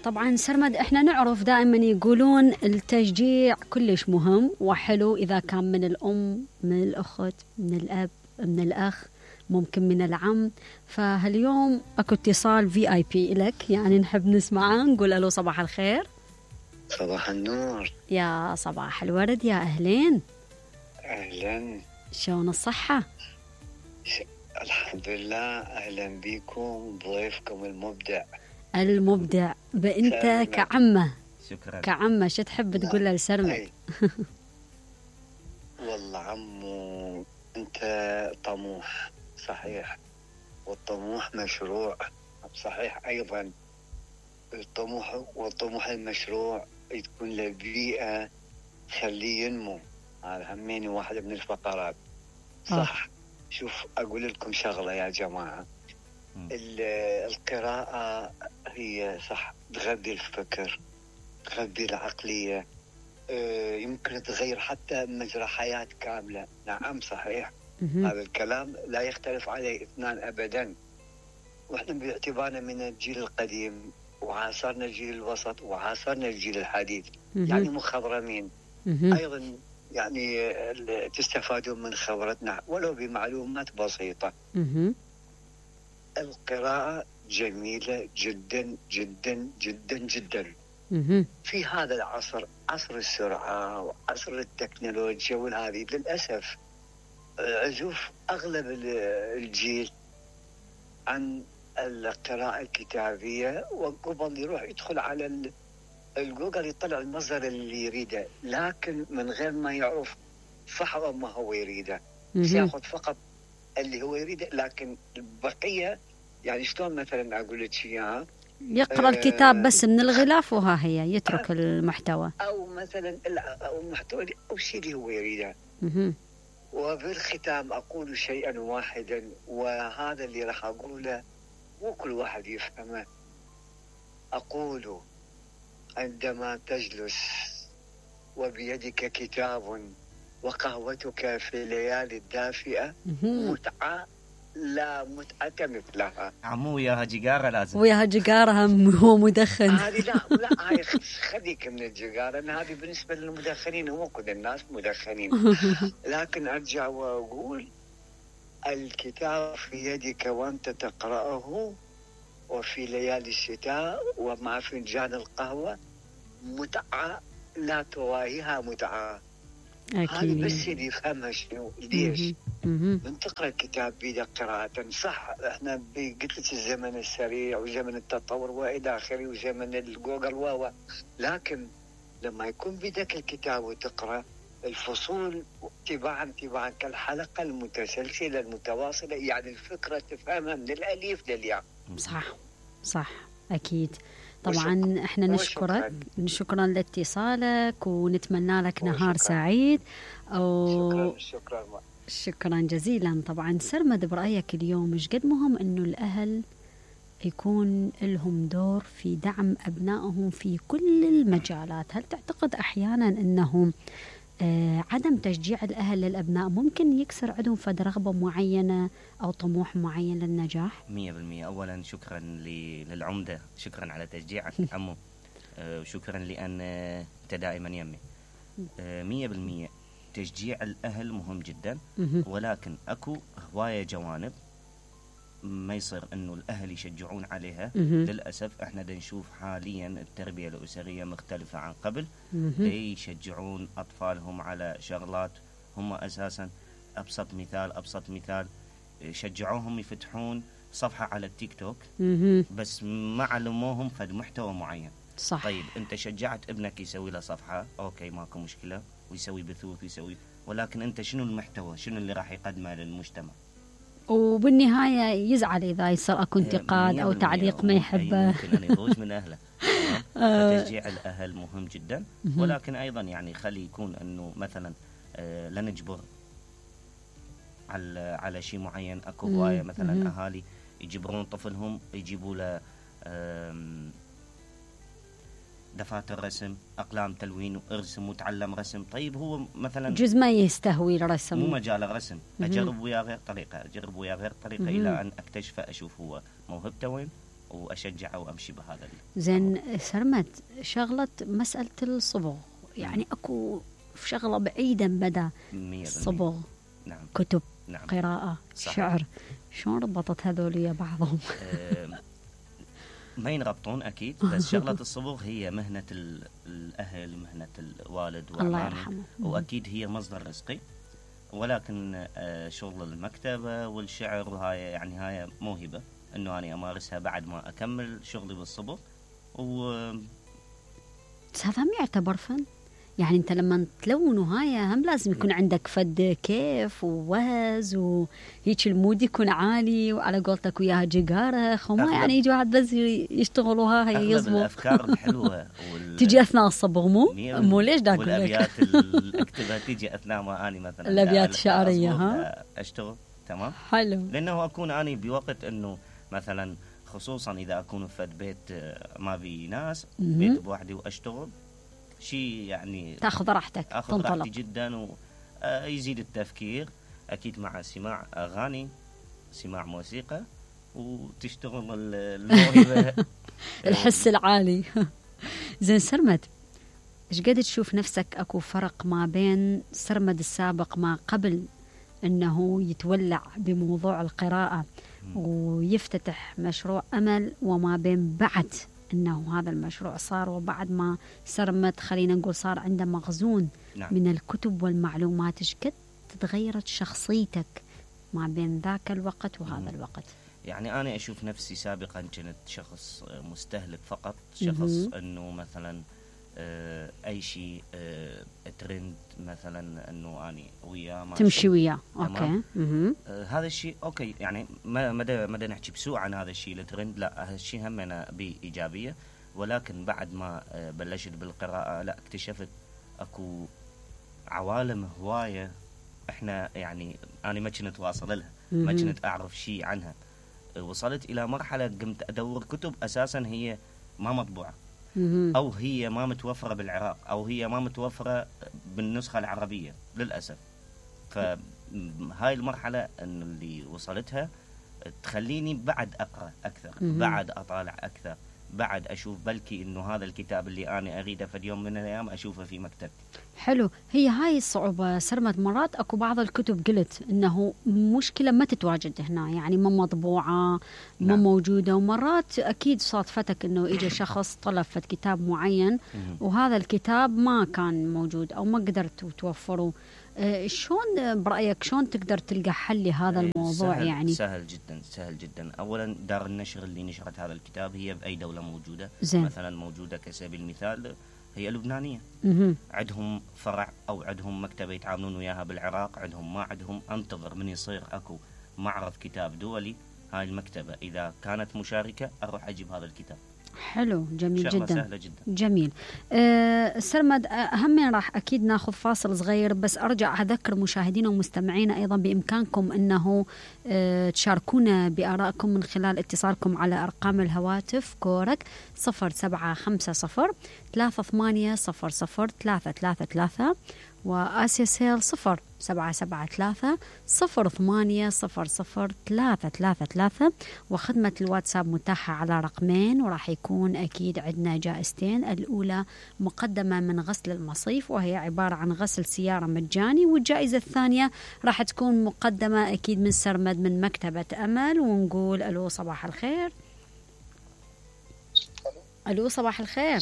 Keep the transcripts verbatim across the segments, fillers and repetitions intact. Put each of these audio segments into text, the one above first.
طبعا سرمد، احنا نعرف دائما يقولون التشجيع كلش مهم وحلو إذا كان من الأم، من الأخت، من الأب، من الأخ، ممكن من العم. فهاليوم اكو اتصال في اي بي لك، يعني نحب نسمعه. نقول له صباح الخير. صباح النور. يا صباح الورد، يا أهلين. أهلا، شلون الصحة؟ ش... الحمد لله. أهلا بكم ضيفكم المبدع المبدع بأنت سرمد. كعمة. شكرا. كعمة شو تحب تقول له لسرمد؟ والله عمو أنت طموح صحيح، والطموح مشروع صحيح أيضا. الطموح والطموح المشروع تكون له بيئة تخليه ينمو، هذا هميني واحدة من الفقرات صح. آه. شوف أقول لكم شغلة يا جماعة، القراءة هي صح تغذي الفكر، تغذي العقلية، يمكن تغير حتى مجرى حياة كاملة. نعم صحيح، هذا الكلام لا يختلف عليه اثنان أبدا. وإحنا باعتبارنا من الجيل القديم وعاصرنا الجيل الوسط وعاصرنا الجيل الحديث، يعني مخضرمين أيضا، يعني تستفادون من خبرتنا ولو بمعلومات بسيطة. القراءة جميلة جدا جدا جدا جدا في هذا العصر، عصر السرعة وعصر التكنولوجيا والهذه. للأسف عزوف أغلب الجيل عن القراءة الكتابية، وقبل يروح يدخل على الجوجل يطلع المصدر اللي يريده، لكن من غير ما يعرف صح ما هو يريده، ياخذ فقط اللي هو يريده، لكن البقية يعني شلون مثلا أقول لك إياها، يقرأ آه الكتاب بس من الغلاف وها هي يترك آه المحتوى، أو مثلا أو المحتوى أو شيء اللي هو يريده. وبالختام أقول شيئا واحدا، وهذا اللي راح أقوله مو كل واحد يفهمه. أقول عندما تجلس وبيدك كتاب وقهوتك في الليالي الدافئة متعة لا متعة مثلها. عمو وياها جيجارة لازم، وياها جيجارة هم هو مدخن. هذه لا لا هاي خليك من الجيجارة، هذه بالنسبة للمدخنين، هو كل الناس مدخنين. لكن أرجع وأقول الكتاب في يدك وأنت تقرأه وفي ليالي الشتاء ومع فنجان القهوة متعة لا تواهيها متعة. هذه بس اللي يفهمها شنو ليش من تقرأ الكتاب بيدك قراءة صح. احنا قلت لك الزمن السريع وزمن التطور والى اخره وزمن الجوجل و لكن لما يكون بيدك الكتاب وتقرأ الفصول تباعا تباعا كالحلقة المتسلسلة المتواصلة، يعني الفكرة تفهمها من الألف للياء. صح صح أكيد. طبعا وشك... احنا نشكرك، شكرا لاتصالك ونتمنى لك نهار وشكرا. سعيد و... شكرا شكرا شكرا جزيلا. طبعا سرمد، برأيك اليوم مش قد مهم انه الاهل يكون لهم دور في دعم ابنائهم في كل المجالات؟ هل تعتقد احيانا انهم آه عدم تشجيع الاهل للابناء ممكن يكسر عندهم فد رغبه معينه او طموح معين للنجاح؟ مية بالمية. اولا شكرا للعمده، شكرا على تشجيعك عمو، آه وشكرا لان انت دائما يمي. آه مية بالمية تشجيع الاهل مهم جدا، ولكن اكو هوايه جوانب ما يصير انه الاهل يشجعون عليها. للاسف احنا دا نشوف حاليا التربيه الاسريه مختلفه عن قبل، يشجعون اطفالهم على شغلات هم اساسا ابسط مثال ابسط مثال شجعوهم يفتحون صفحه على التيك توك بس ما علموهم فد محتوى معين. صح. طيب انت شجعت ابنك يسوي له صفحه، اوكي ماكو مشكله، ويسوي بثوث ويسوي، ولكن انت شنو المحتوى، شنو اللي راح يقدمه للمجتمع؟ وبالنهايه يزعل اذا يصير اكو انتقاد او تعليق ما يحبه، ممكن ان يضوج من اهله. فتشجيع الاهل مهم جدا، ولكن ايضا يعني خلي يكون انه مثلا آه لا نجبر على على شيء معين. اكو هوايه مثلا اهالي يجبرون طفلهم يجيبوا له دفاتر رسم، اقلام تلوين، وارسم وتعلم رسم. طيب هو مثلا جزء ما يستهوي الرسم، مو مجال الرسم، اجرب وياه غير طريقه، اجرب وياه غير طريقه الى ان اكتشف اشوف هو موهبته وين واشجعه وامشي بهذا. زين سرمد، شغله مساله الصبغ، يعني اكو شغله بعيده بدا الصبغ. نعم. كتب. نعم. قراءه. صحيح. شعر. شلون ربطت هذول ويا بعضهم؟ ما ينربطون اكيد، بس شغله الصبغ هي مهنه الاهل، مهنه الوالد والعمام، واكيد هي مصدر رزقي، ولكن شغل المكتبه والشعر هاي يعني هاي موهبه انه انا امارسها بعد ما اكمل شغلي بالصبغ. و هذا هم يعتبر فن، يعني انت لما تلون وهاي هم لازم يكون عندك فد كيف ووهز وهيك المود يكون عالي، وعلى قولتك وياها جقارخ، وما يعني يجي واحد بس يشتغلوها هي يصبغ. الافكار الحلوه وال... تجي اثناء الصبغ مو مو ليش داك والابيات اللي اكتبها تجي اثناء ما اني مثلا الابيات الشعريه ها اشتغل. تمام. حلو. لانه اكون اني بوقت انه مثلا خصوصا اذا اكون في بيت ما بي ناس، بيت بوحدي واشتغل شيء يعني تاخذ راحتك، اخذ راحتي جدا ويزيد التفكير اكيد مع سماع اغاني، سماع موسيقى، وتشتغل الموهبه الحس العالي. زين سرمد، ايش قد تشوف نفسك اكو فرق ما بين سرمد السابق ما قبل انه يتولع بموضوع القراءه ويفتتح مشروع امل، وما بين بعد انه هذا المشروع صار وبعد ما سرمد خلينا نقول صار عنده مخزون نعم. من الكتب والمعلومات؟ ايش قد تغيرت شخصيتك ما بين ذاك الوقت وهذا مم. الوقت؟ يعني انا اشوف نفسي سابقا كنت شخص مستهلك فقط، شخص مم. انه مثلا اي شيء ترند مثلا انه اني وياه تمشي وياه. اوكي. آه هذا الشيء اوكي، يعني ما ما ما نحكي بسوء عن هذا الشيء الترند، لا هذا الشيء هم انا بايجابيه، ولكن بعد ما بلشت بالقراءه لا اكتشفت اكو عوالم هوايه احنا يعني انا ما كنت واصل لها، ما كنت اعرف شيء عنها. وصلت الى مرحله قمت ادور كتب اساسا هي ما مطبوعه، أو هي ما متوفرة بالعراق، أو هي ما متوفرة بالنسخة العربية للأسف. فهاي المرحلة اللي وصلتها تخليني بعد أقرأ أكثر، بعد أطالع أكثر، بعد أشوف بلكي إنه هذا الكتاب اللي أنا أريده في يوم من الأيام أشوفه في مكتبتي. حلو. هي هاي الصعوبة سرمت، مرات أكو بعض الكتب قلت إنه مشكلة ما تتواجد هنا، يعني ما مطبوعة ما نعم. موجودة، ومرات أكيد صادفتك إنه إجا شخص طلب فت كتاب معين وهذا الكتاب ما كان موجود أو ما قدرتوا توفروا. أه شلون برأيك شلون تقدر تلقى حل لهذا الموضوع؟ سهل يعني سهل جدا سهل جدا. أولا دار النشر اللي نشرت هذا الكتاب هي بأي دولة موجودة. زين. مثلا موجودة كسبيل المثال هي لبنانية، عندهم فرع أو عندهم مكتبة يتعاملون وياها بالعراق، عندهم ما عندهم أنتظر من يصير أكو معرض كتاب دولي، هاي المكتبة إذا كانت مشاركة أروح أجيب هذا الكتاب. حلو. جميل جدا. سهلة جدا. جميل. أه سرمد، أهم راح أكيد ناخذ فاصل صغير، بس أرجع أذكر مشاهدينا ومستمعينا أيضا بإمكانكم أنه أه تشاركونا بآرائكم من خلال اتصالكم على أرقام الهواتف كورك صفر سبعة خمسة صفر ثلاثة ثمانية صفر صفر ثلاثة ثلاثة ثلاثة، وآسيا سيل صفر سبعة سبعة ثلاثة صفر ثمانية صفر صفر ثلاثة ثلاثة ثلاثة، وخدمة الواتساب متاحة على رقمين، وراح يكون أكيد عندنا جائزتين. الأولى مقدمة من غسل المصيف وهي عبارة عن غسل سيارة مجاني، والجائزة الثانية راح تكون مقدمة أكيد من سرمد من مكتبة أمل. ونقول ألو صباح الخير. ألو صباح الخير.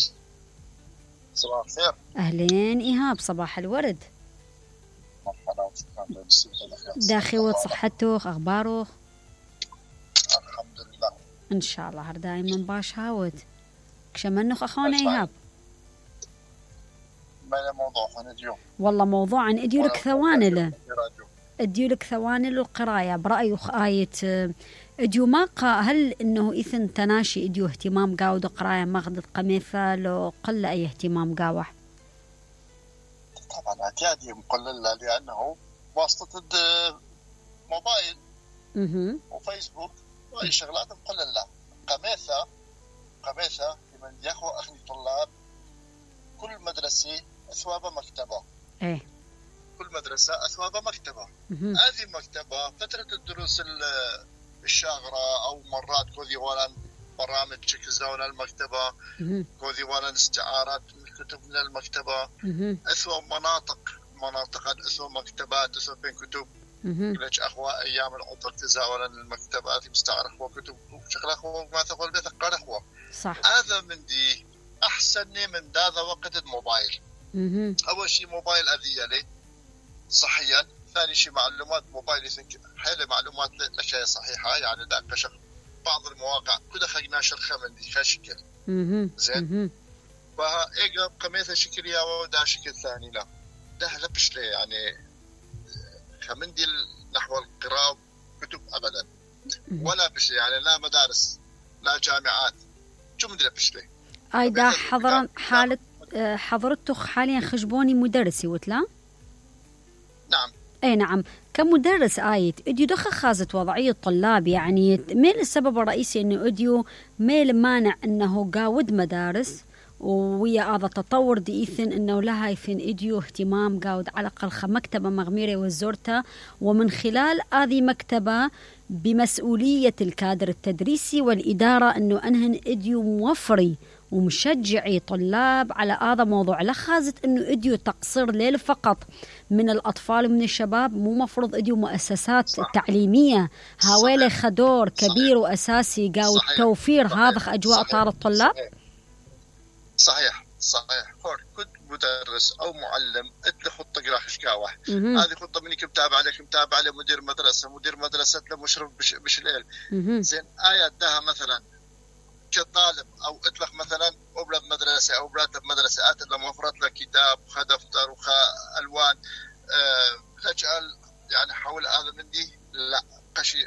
صباح الخير. أهلين إيهاب، صباح الورد. مرحبا. داخل صحتك أخبارك؟ الحمد لله إن شاء الله هر دائما باش هاوت. كشمنخ أخونا إيهاب. ما موضوع عن اليوم؟ والله موضوع عن إديولك ثواني له إديولك ثواني له القراية برأي آية إديو ما قا هل إنه إثن تناشي إديو اهتمام قاود قراية ماخذ قميثة لو قل أي اهتمام قاوح؟ طبعا اعتيادي مقلل لأنه واسطة موبايل وفيسبوك وأي شغلات مقللة. قميثة قميثة لمن يخو أخني طلاب كل مدرسة أثواب مكتبة. إيه. كل مدرسة أثواب مكتبة. هذه مكتبة فترة الدروس الشاغرة أو مرات كذي ولا برامج شكل زون المكتبة، كو ديوان الاستعارات من الكتب من المكتبة، أسوأ مناطق مناطق أسوأ مكتبات أسوأ بين كتب ليش أخوة أيام العطر تزاولا المكتبات مستعار أخوة كتب شغل أخوة ما تقول بيت قال أخوة صح. هذا من دي أحسنني من هذا وقت الموبايل. أول شيء موبايل أذية لي صحيا، ثاني شيء معلومات موبايل حيل معلومات لشيء صحيحة يعني لا كشف بعض المواقع كده خلينا شرخة من دي خشكل زين فإيجا قميثة شكل يا ودا شكل ثاني لا ده لبش لي يعني خمندي نحو القراءة كتب أبدا ولا بشي يعني لا مدارس لا جامعات شو مدري بش لي أيضا حضرا حالة حضرتك حاليا خجبوني مدرسي وتلا؟ نعم. اي نعم. كمدرس آيت اديو دخل خازت وضعية الطلاب يعني ميل السبب الرئيسي انه اديو ميل مانع انه قاود مدارس ويا هذا التطور دي إيثن انه لها يثن اديو اهتمام قاود على الاقل مكتبة مغميرة وزورتها ومن خلال هذه مكتبة بمسؤولية الكادر التدريسي والإدارة انه انهن اديو موفري ومشجعي طلاب على هذا موضوع لا خازت انه اديو تقصير ليل فقط من الاطفال ومن الشباب مو مفروض اديو مؤسسات صح. تعليميه هاويله خدور كبير واساسي قاو توفير هذا اجواء طار الطلاب صحيح صحيح خور كنت مدرس او معلم اتلي خطه قرا خشكاوه هذه خطه منك متابعه عليك متابعه على مدير مدرسه مدير مدرسه له مشرف بش, بش الليل زين ايات دها مثلا كطالب او اطلق مثلا اولاد مدرسه او براتب مدرسه اتت لما وفرت له كتاب وخا دفتر وخا الوان أه تجعل يعني حول هذا من دي لا قشي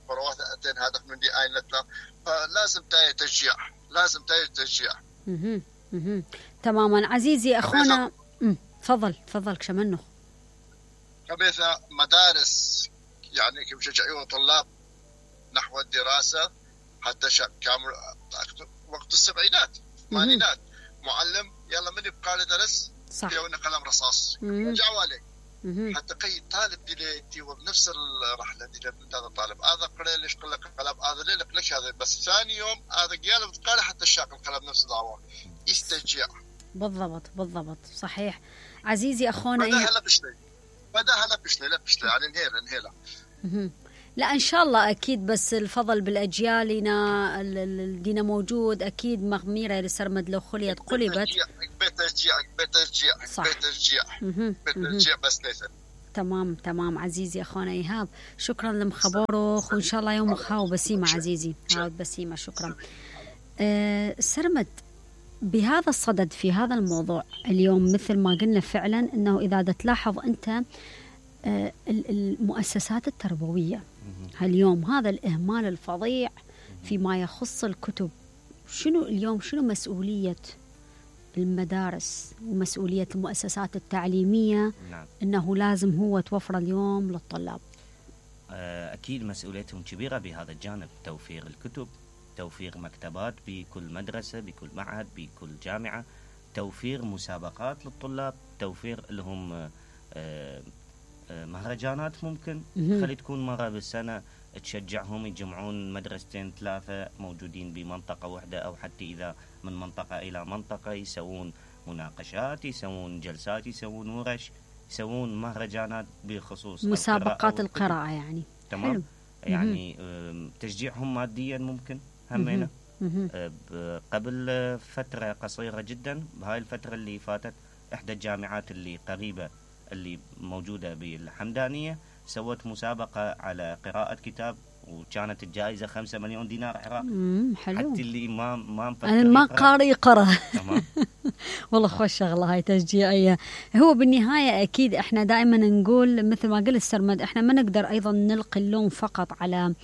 بروات اتين هدف من دي اينتنا فلازم تاي تشجيع لازم تاي تشجيع اها اها تماما عزيزي اخونا تفضل تفضل كشمنه كبيثة مدارس يعني كيف شجعوا طلاب نحو الدراسه حتى كامل وقت السبعينات الثمانينات معلم يلا من يبقى له درس صح يونا قلم رصاص رجعوا عليه حتى قي طالب دي بنفس الرحله دي هذا الطالب هذا قرأ ليش قال لك قلم هذا ليه ليش هذا بس ثاني يوم هذا قال قال حتى الشاق القلم نفس الدعوه يسترجع بالضبط بالضبط صحيح عزيزي اخونا بدها هلا بشلي بدها هلا بشلي لا بشلي يعني انهيلا انهيلا لا إن شاء الله أكيد بس الفضل بالأجيالنا الدين موجود أكيد مغميرة لسرمد لو خليت قلبت بترجيع بترجيع بترجيع بترجيع بس ليس تمام تمام عزيزي أخونا إيهاب شكرا لمخبره وإن شاء الله يوم خاو بسيمة عزيزي عاود بسيمة شكرا أه سرمد بهذا الصدد في هذا الموضوع اليوم مثل ما قلنا فعلا أنه إذا تلاحظ أنت أه المؤسسات التربوية اليوم هذا الإهمال الفظيع فيما يخص الكتب شنو اليوم شنو مسؤولية المدارس ومسؤولية المؤسسات التعليمية نعم. أنه لازم هو توفر اليوم للطلاب أكيد مسؤوليتهم كبيرة بهذا الجانب توفير الكتب توفير مكتبات بكل مدرسة بكل معهد بكل جامعة توفير مسابقات للطلاب توفير لهم مهرجانات ممكن خلي تكون مرة بالسنة تشجعهم يجمعون مدرستين ثلاثة موجودين بمنطقة واحدة أو حتى إذا من منطقة إلى منطقة يسوون مناقشات يسوون جلسات يسوون ورش يسوون مهرجانات بخصوص مسابقات القراءة, القراءة يعني تمام حلو. يعني تشجيعهم ماديا ممكن همينة قبل فترة قصيرة جدا بهاي الفترة اللي فاتت إحدى الجامعات اللي قريبة اللي موجودة بالحمدانية سوت مسابقة على قراءة كتاب وكانت الجائزة خمسة مليون دينار عراقي حلو حتى اللي ما ما مفكر أنا ما قارئ يقرأ والله خوش شغلة هاي تشجيعية هو بالنهاية أكيد إحنا دائما نقول مثل ما قلت سرمد إحنا ما نقدر أيضا نلقي اللوم فقط على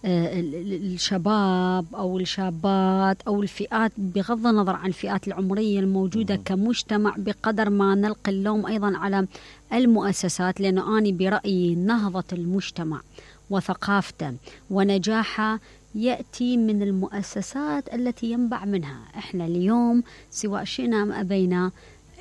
الشباب أو الشابات أو الفئات بغض النظر عن الفئات العمرية الموجودة كمجتمع بقدر ما نلقي اللوم أيضا على المؤسسات لأنه أنا برأيي نهضة المجتمع وثقافته ونجاحه يأتي من المؤسسات التي ينبع منها إحنا اليوم سواء شئنا أم أبينا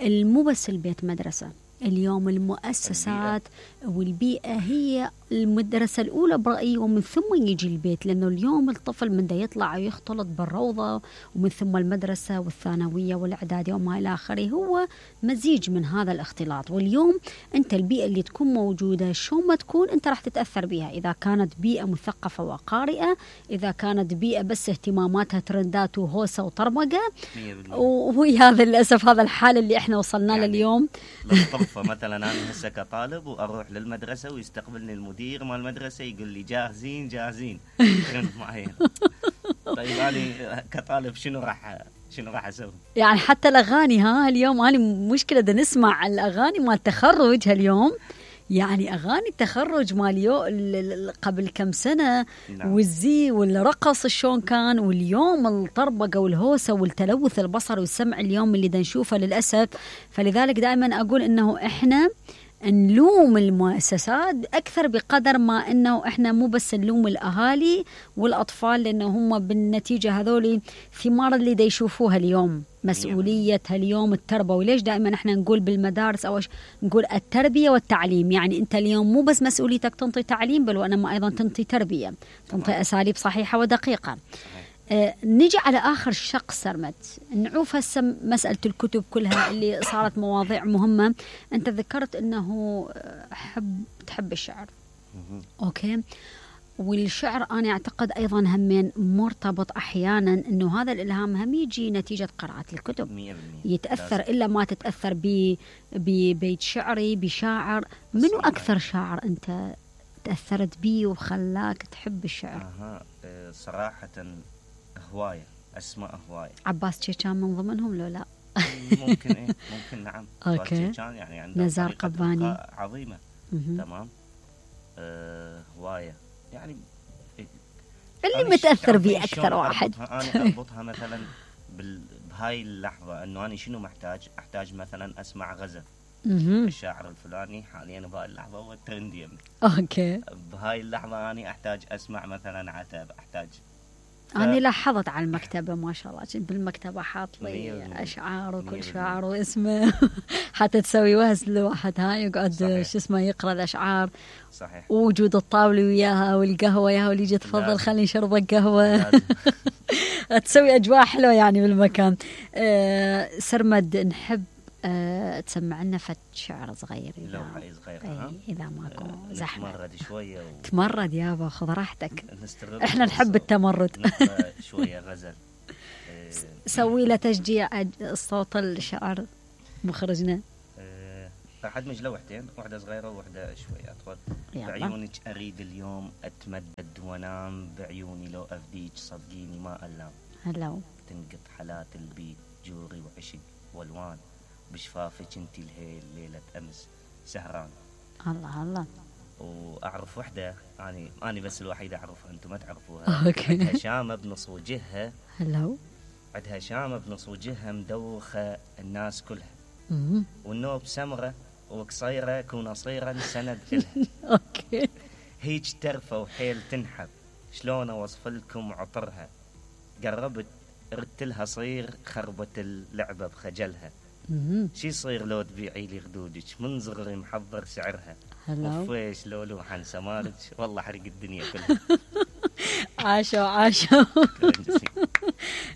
المو بس البيت مدرسة اليوم المؤسسات والبيئة هي المدرسة الأولى برأيي، ومن ثم يجي البيت، لأنه اليوم الطفل من دا يطلع ويختلط بالروضة، ومن ثم المدرسة والثانوية والإعدادية وما إلى آخره، هو مزيج من هذا الاختلاط. واليوم أنت البيئة اللي تكون موجودة شو ما تكون أنت راح تتأثر بها، إذا كانت بيئة مثقفة وقارئة، إذا كانت بيئة بس اهتماماتها ترندات وهوسة وطرمقة، وهي هذا للأسف هذا الحال اللي احنا وصلنا له يعني اليوم. للطرفة مثلا أنا هسه كطالب وأروح للمدرسة ويستقبلني المدير مال المدرسة يقول لي جاهزين جاهزين معين. طيب أنا كطالب شنو راح شنو راح أسوي؟ يعني حتى الأغاني ها اليوم أنا مشكلة دا نسمع الأغاني مال التخرج هاليوم، يعني أغاني التخرج ماليو قبل كم سنة نعم. والزي والرقص شلون كان، واليوم الطربقة والهوسة والتلوث البصري والسمع اليوم اللي دا نشوفه للأسف. فلذلك دائما أقول إنه إحنا نلوم المؤسسات أكثر بقدر ما إنه إحنا مو بس نلوم الأهالي والأطفال، لأنه هم بالنتيجة هذولي ثمار اللي دا يشوفوها اليوم، مسؤولية اليوم التربوي. ليش دائما إحنا نقول بالمدارس أو نقول التربية والتعليم؟ يعني أنت اليوم مو بس مسؤوليتك تنطي تعليم، بل وإنما أيضا تنطي تربية، تنطي أساليب صحيحة ودقيقة. آه نجي على آخر شق سرمد، نعوف هسه مسألة الكتب كلها اللي صارت مواضيع مهمة. أنت ذكرت أنه حب تحب الشعر، أوكي، والشعر أنا أعتقد أيضا همين مرتبط أحيانا أنه هذا الإلهام هم يجي نتيجة قراءة الكتب، يتأثر إلا ما تتأثر ببيت شعري بشاعر. منو أكثر شاعر أنت تأثرت بيه وخلاك تحب الشعر؟ أه صراحة هواية أسماء هواية. عباس تشيشان من ضمنهم لو لا؟ ممكن إيه ممكن نعم. أوكي. يعني عنده نزار قباني عظيمة. م-م. تمام. أه هواية يعني اللي متأثر بيه أكثر واحد. أنا أربطها مثلا بهاي اللحظة إنه أنا شنو محتاج؟ أحتاج مثلا أسمع غزل الشاعر الفلاني حاليا بهاي اللحظة هو الترندي. أوكي. بهاي اللحظة أنا أحتاج أسمع مثلا عتب، أحتاج ف... أنا لاحظت على المكتبة ما شاء الله، كنت بالمكتبة حاط لي أشعار وكل شاعر واسمه حتى تسوي وهز لواحد هاي يقعد شو اسمه يقرأ الأشعار. صحيح. ووجود الطاولة وياها والقهوة ياها واللي يجي تفضل خليني شربك قهوة تسوي أجواء حلوة يعني بالمكان. أه سرمد نحب أه تسمع لنا فت شعر صغير لو حي صغير ها إذا ماكو أه زحمة. تمرد شوية و... تمرد يابا خذ راحتك، إحنا نحب التمرد شوية غزل. أه سوي له تشجيع الصوت الشعر مخرجنا. أه راح أدمج لوحدين، واحدة صغيرة وواحدة شوية أطول. بعيونك أريد اليوم أتمدد وأنام، بعيوني لو أفديك صدقيني ما ألام. هلو تنقط حالات البيت جوري وعشق والوان، بشفافك انتي الهيل ليلة أمس سهران. الله الله. وأعرف وحدة أنا أنا بس الوحيدة أعرفها أنتم ما تعرفوها. أوكي. عندها شامة بنص وجهها. هلو. عندها شامة بنص وجهها مدوخة الناس كلها. امم. والنوب سمرة وقصيرة كون صيرا سند إلها. أوكي. هيج ترفة وحيل تنحب، شلون أوصف لكم عطرها، قربت ردت لها صير خربت اللعبة بخجلها. شي صير لو تبيعي لي خدودك من صغري محضر سعرها، وفيش لو لوحن سمارك والله حرق الدنيا كلها. عاشوا عاشوا.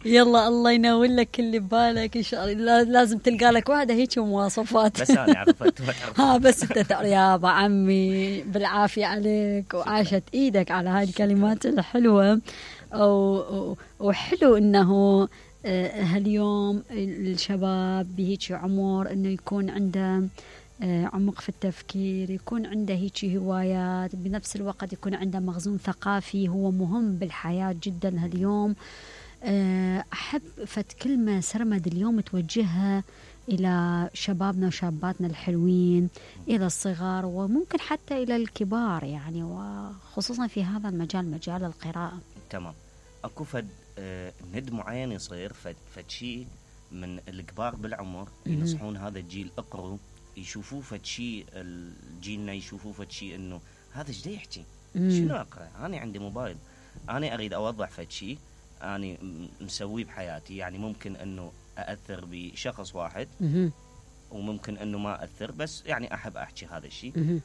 يلا الله ينور لك اللي ببالك ان شاء الله، لازم تلقى لك واحده هيك مواصفات. بس انا عرفت ها بس انت تعرف يا ابو عمي بالعافيه عليك، وعاشت ايدك على هاي الكلمات الحلوه. وحلو انه هاليوم الشباب بهيك عمر انه يكون عنده عمق في التفكير، يكون عنده هيك هوايات، بنفس الوقت يكون عنده مخزون ثقافي هو مهم بالحياة جدا هاليوم. أحب فت كلمة سرمد اليوم توجهها إلى شبابنا وشاباتنا الحلوين، إلى الصغار وممكن حتى إلى الكبار يعني، وخصوصا في هذا المجال مجال القراءة. تمام. أكو فد آه ند معين يصير فد, فد شيء من الكبار بالعمر ينصحون هذا الجيل اقروا، يشوفوه فد شيء الجيلنا يشوفوه فد شيء انه هذا ايش دا يحكي، شنو اقرا، انا عندي موبايل، انا اريد اوضح فد شيء انا مسويه بحياتي، يعني ممكن انه ااثر بشخص واحد وممكن انه ما اثر، بس يعني احب احكي هذا الشيء. مهم.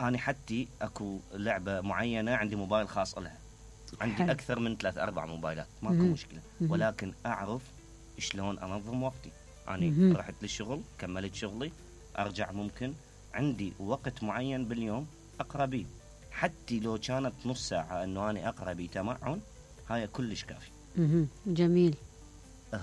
انا حتى اكو لعبه معينه عندي موبايل خاص لها، عندي حلو. اكثر من ثلاث اربع موبايلات، ماكو مهم. مشكله، مهم. ولكن اعرف شلون انظم وقتي. انا مهم. رحت للشغل، كملت شغلي، ارجع ممكن عندي وقت معين باليوم اقرا بيه، حتى لو كانت نص ساعه انه انا اقرا بيه تمعن، هاي كلش كافي. مهم. جميل.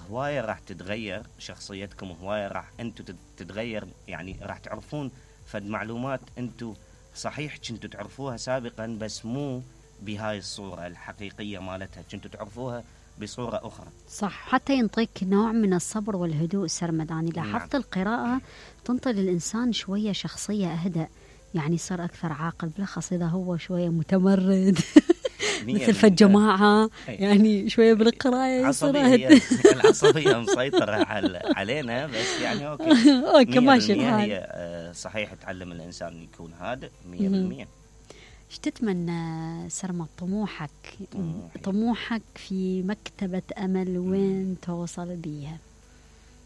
هوايه راح تتغير شخصيتكم، هوايه راح انتم تتغير، يعني راح تعرفون فد معلومات انتم صحيح كنتوا تعرفوها سابقا، بس مو بهاي الصوره الحقيقيه مالتها، كنتوا تعرفوها بصوره اخرى. صح، حتى ينطيك نوع من الصبر والهدوء سرمد. يعني لاحظت نعم. القراءة تنطي للإنسان شوية شخصية أهدأ، يعني صار أكثر عاقل، بالأخص إذا هو شوية متمرد مثل في الجماعة، يعني شوية بالقراءة يصير عصبية، أهدأ. العصبية مسيطرة على علينا، بس يعني أوكي أوكي ماشي مية بالمية الحال. هي آه، صحيح تعلم الإنسان يكون هادئ مية بالمية. ايش تتمنى سرمد؟ طموحك طموحي. طموحك في مكتبة أمل وين توصل بيها؟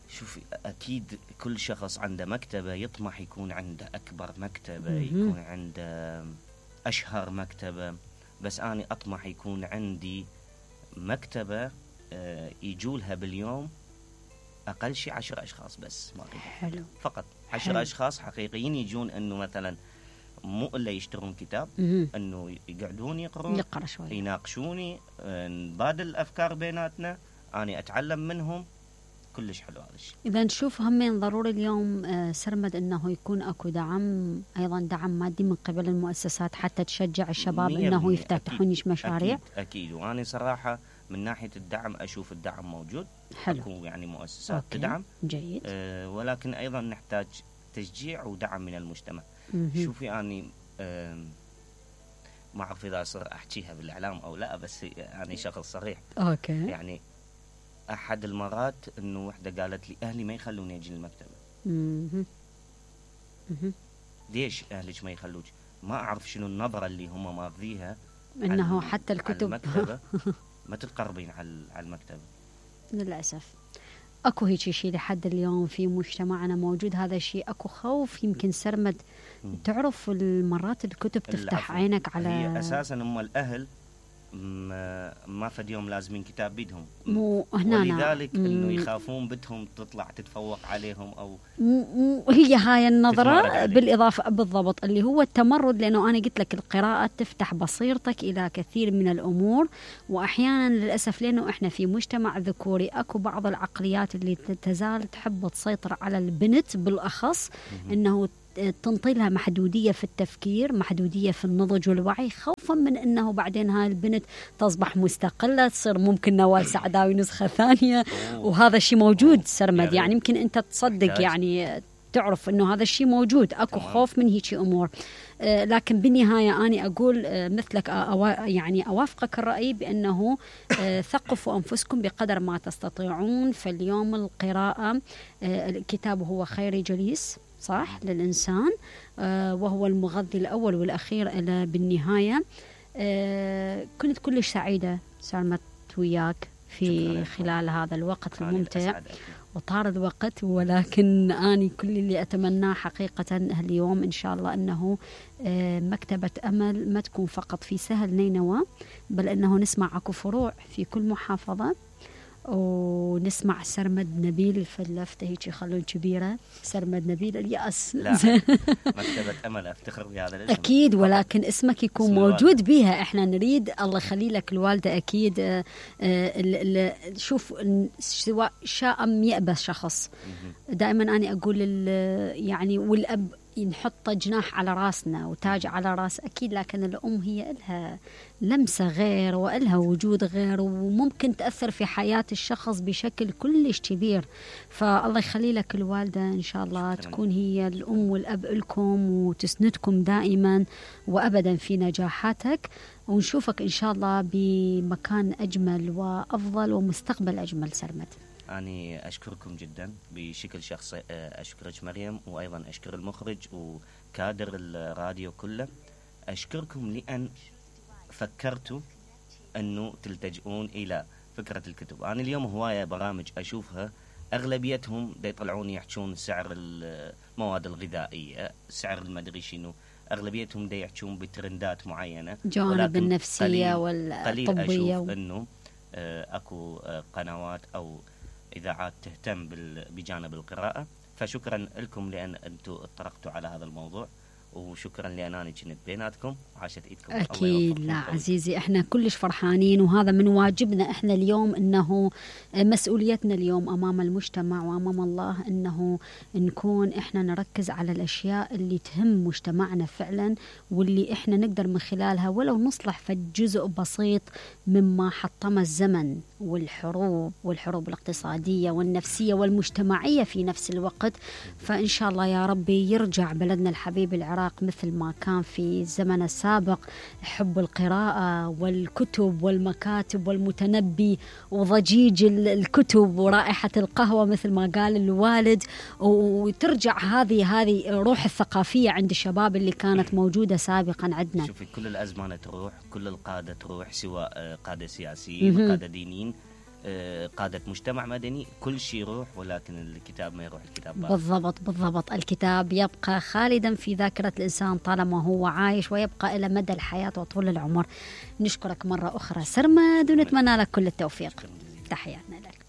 شوفي، أكيد كل شخص عنده مكتبة يطمح يكون عنده أكبر مكتبة، مهم. يكون عنده أشهر مكتبة، بس أنا أطمح يكون عندي مكتبة آه، يجولها باليوم أقل شيء عشر أشخاص بس، ما أريد حلو. فقط حلو. عشر أشخاص حقيقيين يجون، أنه مثلا مو إلا يشترون كتاب، مهم. أنه يقعدون يقرون، يقرأ شوي. يناقشوني، آه، نبادل الأفكار بيناتنا، أنا أتعلم منهم. كلش حلو هذا الشيء. إذا نشوف همين ضروري اليوم آه، سرمد أنه يكون أكو دعم، أيضا دعم مادي من قبل المؤسسات حتى تشجع الشباب مية أنه بالمية. يفتتحون أكيد. مشاريع. أكيد, أكيد. وأنا صراحة من ناحية الدعم أشوف الدعم موجود. حلو. أكو يعني مؤسسات أوكي. تدعم، جيد. أه ولكن أيضا نحتاج تشجيع ودعم من المجتمع. مهم. شوفي أني أه ما أعرف إذا أصير أحكيها بالإعلام أو لا، بس أنا شخص صريح. أوكي. يعني أحد المرات إنه وحدة قالت لي أهلي ما يخلوني أجي المكتبة. مهم. مهم. ليش أهلك ما يخلوك؟ ما أعرف شنو النظرة اللي هم ماخذيها، أنه على- حتى على الكتب المكتبة ما تتقربين على على المكتبة. للأسف اكو هيك شيء لحد اليوم في مجتمعنا موجود هذا الشيء، اكو خوف يمكن سرمد. مم. تعرف المرات الكتب تفتح العفو. عينك على هي أساسا هم الأهل ما, ما فد يوم لازمين كتاب بيدهم، مو هنا ولذلك مم. إنه يخافون بنتهم تطلع تتفوق عليهم أو مو مو هي هاي تتمرد النظرة عليه. بالإضافة بالضبط اللي هو التمرد، لأنه أنا قلت لك القراءة تفتح بصيرتك إلى كثير من الأمور، وأحيانا للأسف لأنه إحنا في مجتمع ذكوري أكو بعض العقليات اللي تزال تحب تسيطر على البنت بالأخص، أنه تنطي لها محدودية في التفكير، محدودية في النضج والوعي، خوفا من أنه بعدين هاي البنت تصبح مستقلة، تصير ممكن نوال سعداوي نسخة ثانية. وهذا الشيء موجود سرمد، يعني يمكن أنت تصدق محتاج. يعني تعرف أنه هذا الشيء موجود، أكو تمام. خوف من هيك أمور. آه لكن بالنهاية أنا أقول آه مثلك أوا يعني أوافقك الرأي بأنه آه ثقفوا أنفسكم بقدر ما تستطيعون. فاليوم القراءة آه الكتاب هو خير جليس صح للإنسان، آه وهو المغذي الأول والأخير إلى بالنهاية. آه كنت كلش سعيدة سالمت وياك في شكراً. خلال هذا الوقت أنا الممتع، الأسعد أكيد. وطار الوقت، ولكن أنا كل اللي أتمناه حقيقة اليوم إن شاء الله أنه آه مكتبة أمل ما تكون فقط في سهل نينوى، بل أنه نسمع أكو فروع في كل محافظة، ونسمع سرمد نبيل فلفته هيك يخلون كبيرة، سرمد نبيل اليأس. لا مكتبة أمل أفتخر بهذا الاسم أكيد، ولكن اسمك يكون اسم موجود الوالدة. بيها. إحنا نريد الله يخلي لك الوالدة أكيد. آه، آه، ال- ال- شوف سواء شاء أم يأبى شخص، مهم. دائما أنا أقول ال- يعني والأب نحط جناح على راسنا وتاج على راس أكيد، لكن الأم هي إلها لمسة غير وإلها وجود غير، وممكن تأثر في حياة الشخص بشكل كلش كبير. فالله يخلي لك الوالدة إن شاء الله شكراً. تكون هي الأم والأب لكم وتسندكم دائما وأبدا في نجاحاتك، ونشوفك إن شاء الله بمكان أجمل وأفضل ومستقبل أجمل سرمد. أنا أشكركم جدا بشكل شخصي، أشكرك مريم، وأيضا أشكر المخرج وكادر الراديو كله. أشكركم لأن فكرتوا أنه تلتجئون إلى فكرة الكتب. أنا اليوم هواية برامج أشوفها اغلبيتهم دا يطلعون يحجون سعر المواد الغذائيه، سعر المدري شنو، اغلبيتهم دا يحجون بترندات معينه، جوانب النفسيه والطبيه. قليل اشوف انه اكو قنوات او اذاعات تهتم بجانب القراءه. فشكرا لكم لان انتم اطرقتوا على هذا الموضوع، وشكرا لأناني كنت بيناتكم وعاشت ايدكم. اكيد لا عزيزي، احنا كلش فرحانين، وهذا من واجبنا احنا اليوم، انه مسؤوليتنا اليوم امام المجتمع وامام الله انه نكون احنا نركز على الاشياء اللي تهم مجتمعنا فعلا، واللي احنا نقدر من خلالها ولو نصلح فجزء بسيط مما حطم الزمن والحروب والحروب الاقتصادية والنفسية والمجتمعية في نفس الوقت. فإن شاء الله يا ربي يرجع بلدنا الحبيب العراق مثل ما كان في الزمن السابق، حب القراءة والكتب والمكاتب والمتنبي وضجيج الكتب ورائحة القهوة مثل ما قال الوالد، وترجع هذه هذه روح الثقافية عند الشباب اللي كانت موجودة سابقا عندنا. شوفي كل الأزمنة تروح، كل القادة تروح، سواء قادة سياسيين، قادة دينيين، قادة مجتمع مدني، كل شيء يروح، ولكن الكتاب ما يروح. الكتاب بقى. بالضبط بالضبط، الكتاب يبقى خالدا في ذاكرة الإنسان طالما هو عايش، ويبقى إلى مدى الحياة وطول العمر. نشكرك مرة أخرى سرمد، ونتمنى لك كل التوفيق. تحياتنا لك.